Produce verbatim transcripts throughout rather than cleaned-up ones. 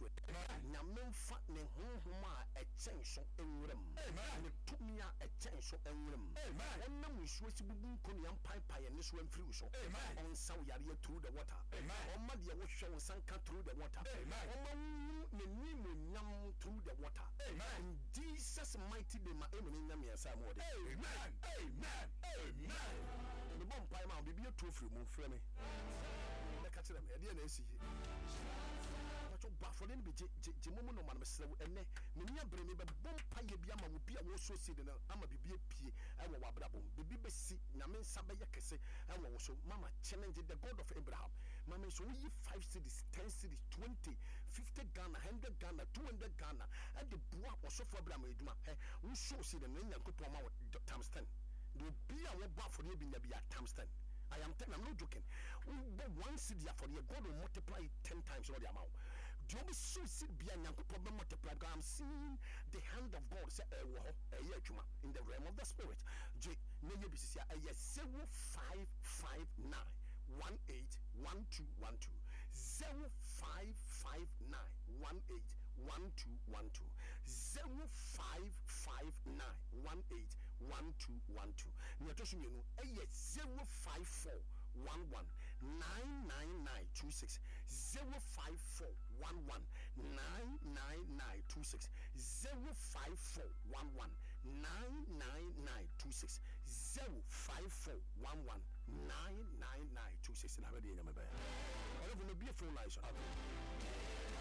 nsuo. Nyame mfa ne honhom a ɛkyɛn so nwura mu, ne tumi a ɛkyɛn so nwura mu. Ɔnam nsuo si bubu nkonnua, mpaepaeɛ ne so amfiri wo so. Ɔnsa wo yareɛ through the water. Ɔma deɛ wohwɛ wo nsa nka through the water. Ɔma wohu n'animonyam through the water. In Jesus' mighty name, a amen nya mmiɛnsa a mu wɔde. Amen, amen, amen. Mebɔ mpae ma wo, biribi atu afiri mu. Frɛ me bɛka kyerɛ me ɛdeɛ na ɛsi yie. Patwɔ, bɔ afɔde no bi, gye gye gye momo nɔma no. Mesrɛ wo, ɛnɛ meni abere mebɛbɔ mpayɛ bi ama wo bi a wɔsɔ seed no ama biribi apue ɛwɔ w'abrabɔ mu. Biribi bɛsi, Nyame nsa bɛyɛ kɛse ɛwɔ wo so. Mama, challenge the God of Abraham. Mama nso woyi five cedis, ten cedis, twenty, fifty Ghana, hundred Ghana, two hundred Ghana ɛde boa ɔsɔfo Abraham adwuma. Ɛ wosɔ seed no ne Nyankopɔn ma wo times ten. De obi a wɔbɔ afɔdeɛ bi nya bi a times ten. I am telling, I'm not joking. Wobɔ one cedi afɔdeɛ, God will multiply it ten times na ɔde ama wo. Deɛ wobɛsow seed bia, Nyankopɔn bɛ multiply, because I'm seeing the hand of God sɛ ɛwɔ hɔ ɛyɛ adwuma in the realm of the spirit. Gye na yɛ bi sisi a ɛyɛ zero five five nine one eight one two one two, zero five five nine one eight one two one two, zero five five nine one eight one two one two. Nea ɛtɔ so mmienu ɛyɛ zero five four one one nine nine nine two six, zero five four one one nine nine nine two six, zero five four one one nine nine nine two six, zero five four one one nine nine nine two six. Na abɛde Nyame bɛyɛ ɔlɛfo mebie phone lines no.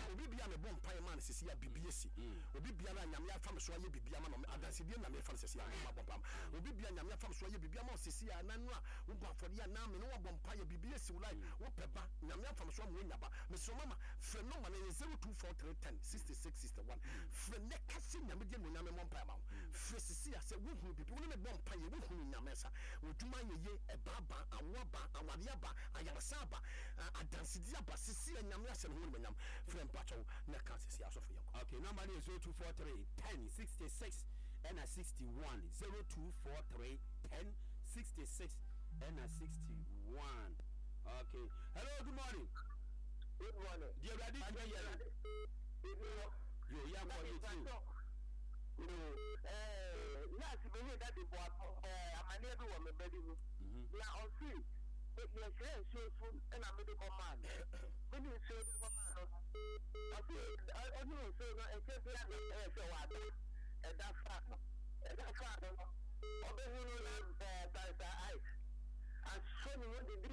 Obi bia mebɔ mpaeɛ ma no sisi a bibi asi. Obi biara a Nyame afa me so ayɛ bibi ama no, adansedie Nyame fa no sisi a mabɔ mpa ma obi bia Nyame afa me so ayɛ bibi ama wo sisi a nanu a wobɔ afɔdeɛ a na me ne wabɔ mpaeɛ, bibi asi wo life. Wopɛ ba, Nyame afa me so ama wonya ba. Mesrɛ, mama, frɛ number no yɛ zero two four three ten sixty six sixty one. Frɛ nɛ ka sɛ Nyame deɛ no Nyame mmɔ mpaeɛ ma wo. Frɛ sisi a sɛ wohunu bibi, wo ne me bɔ mpaeɛ, wohunu Nyame nsa, w'adwuma ayɛ yie, ɛba aba, awo aba, awareɛ aba, ayaresa aba, adansedie aba. Sisi a Nyame ahyɛ ne ho animuonyam. Frɛ, mpakyɛw, na ka sisi asɔfo yɛnkɔ. Okay, number no yɛ zero two four three ten sixty-six ɛna sixty-one, zero two four three ten sixty-six ɛna sixty-one. Okay, hello, good morning. Good morning. Deɛ Awurade tumi yɛ no. Ebi wɔ. Yo, yɛnkɔ, yɛtie o. Nurse bi ne dade bɔ ɛɛ amaneɛ bi wɔ me ba bi mu. Na ɔsi yɛhyerɛ nsuo so ɛna mede kɔ maa no. Mede nsuo de kɔ maa no. Ɔsi ɔne nsuo no nkyɛn bi na ɛyɛ sɛ wada. Ɛda fa no. Ɛda fa no no. Ɔbɛhu no na ɛɛ Pastor Ike asɔ ne mu didi.